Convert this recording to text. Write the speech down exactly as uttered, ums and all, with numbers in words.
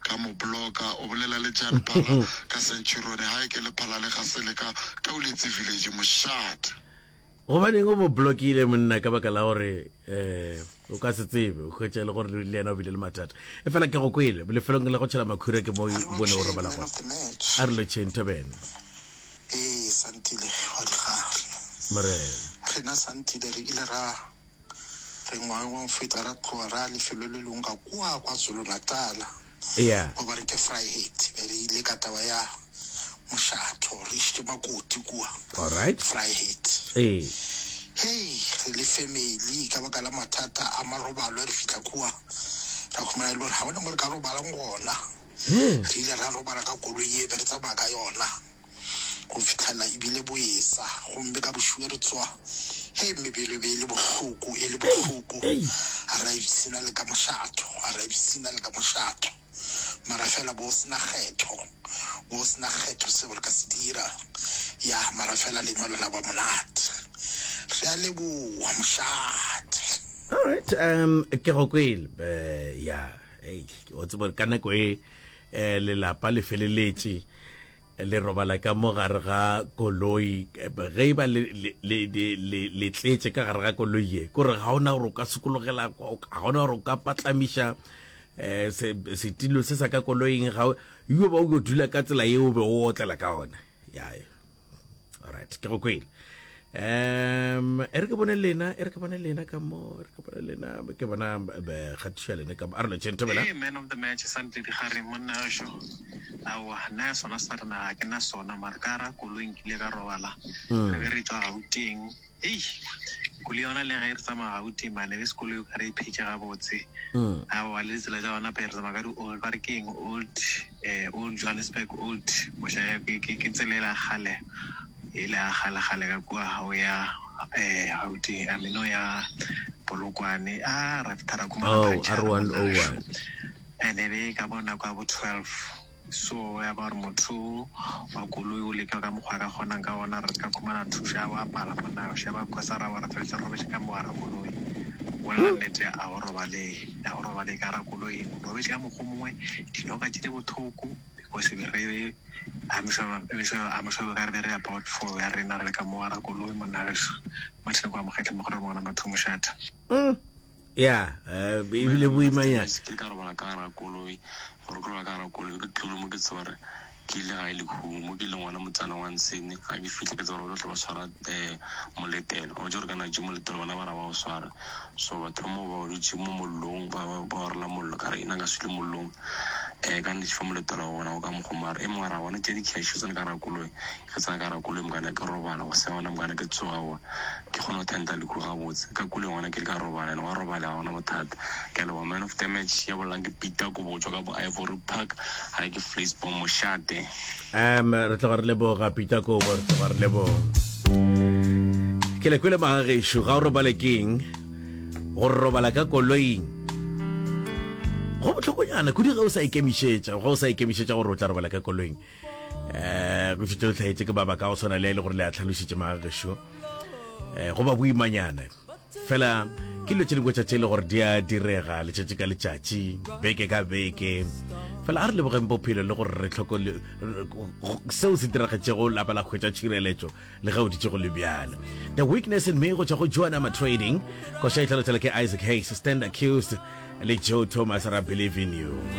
Ka mo blocka. O bolela le Jan Phala ka Centurion. Hae ke le Phala le ga se le ka Tauletse Village mošate. Gobaneng o mo blockile monna? Ka baka la gore um o ka se tsebe, o hwetša e le gore le yena o bile le mathata. E fela ke go kwele lefelong la go tšhela makhura, ke mo bone o robala gona. A re lotšheng, thobene. Ee, Santile wa digare. Morena. Rena Santile re ile ra re ngwageng wa go feta ra tloga ra lefelo le lengwe ka kua KwaZulu-Natal. Yeah. Ba re ke Vryheid. Be re ile ka taba ya mošatho, re išitše makoti kua. All right. Vryheid. Ee. Hei, re le family ka baka la mathata a marobalo re fihla kua ra khumana e le gore ga gona mo re ka robalang gona. Re ile ra robala ka koloi ye be re tsamaya ka yona go fitlhela ebile boesa, gomme ka bošuwe re tsoa, hei, mebele e be e le bohloko, e le bohloko. A ra ipshina le ka mošatho, a ra ipshina le ka mošatho, mara fela bo sena kgetho, bo sena kgetho seo re ka se dira ya, mara fela lenyalo la ba monate. Re a leboa, mošate. All right, um ke go kwele. Eh, ya, ei, o tseba ka nako e eh, lelapa le feleletše le robala ka mo gare ga koloi, ge e ba le le le le tletše ka gare ga koloi ye, kore ga ona gore o ka sokologela, ga ona gore o ka patlamiša eh setilo se sa ka koloing, ga yo ba o yo dula ka tsela yeo o be o otlela ka ona. Ya, alright, ke go kwele. Um e re ke bone lena, e re ke bone lena ka mo, e re ke bone lena, ke bona kgatišo ya lena ka mo. A re lotšheng, thobela. Hey, man of the match Santile Digare, monna wešo. Aowa, nna ya sona sa rena ga ke na sona, mare ka ra koloi nkile ka robala. Re be re tšwa Gauteng. Hei, koloi yona le ge re tsamaya Gauteng mane be se koloi o ka re e phetše gabotse. Aowa, le ditsela tša gona pe re tsamaya ka di old, ba re ke eng, old eh old Johannesburg, old moša ke ke ke tsela e la kgale, e le ya kgale kgale ka kua ga o ya eh Gauteng, I mean o ya Polokwane. A ra fihla ra khumana Oh, puncture monna wešo. R one oh one. And e be ka bo nako ya bo twelve, so ya ba gore motho wa koloi o leka ka mokgwa a ka kgonang ka gona re ka khumana thušo ya ba pala monna wešo, ya ba khosa ra ba ra feleletša re robetše ka mo gare koloi. Bolela nnete, a go robale, a go robale ka gara koloi, o robetše ka mokgwa o mongwe, dinoka tše di bohloko because be re I'm sure, I'm sure, I'm sure ka re be re about four ya rena re le ka mo gara koloi monna wešo. Martin kwa Mokgetle mogolo wa ngwana batho mošata. Mm. Ya, eh, ebile boimanyana. Ke ka robala ka gara koloi, gore ke robala ka gara koloi ke tlole mo, ke tseba gore ke ile gae lekhumo mo ke leng gona motsana wa Nsene. Ga ke fitlhe ke tseba gore ba tlo ba swara um moletelo, wa tse gore ka natse moletelo bona ba ra ba o swara. So batho ba mo ba dutse mo mollong, ba ba orela mollo, ka re ena ka sule mollong um ka nnete fa moletelo wa bona o ka mokgomare e mongwe ra bona tše di-cash tsene ka gara koloi. Ke tsena ka gara koloi mokana ke robala go se gona mokana ke tsoga wa ke kgone go tenta lekhu gabotse ka koloi gona ke le ka robala ene wa robala ga gona bothata. Ke a leboga. Man of the match ya bolelang ke Peter Kobo go tswa ka bo Ivory Park, ga ke Vleisboom mošate. Um re tloga re leboga Peter Kobo, re tloga re leboga. Ke le kwele magagešo, ga o robale keng go robala ka koloing go bohlokonyana kudu ge o sa ikemišetša, ge o sa ikemišetša gore o tla robala ka koloing. Um go šetše o hlaetše ke mabaka a go swana le a e le gore le a tlhalošitše magagešo, um go ba boimanyana fela ke dilo tše dingwe tša tše e le gore di a direga letšatši ka letšatši, beke ka beke. Fela a re lebogeng bophelo le gore re tlhoko seo se diragetšego lapa la hwetša tšhireletšo le ge o ditše go le bjalo. The Weakness in Me go tšwa go Joanna Trading, koša e tlhalotšela ke Isaac Hayes, Stand Accused le Joe Thomas, ra Believe in You.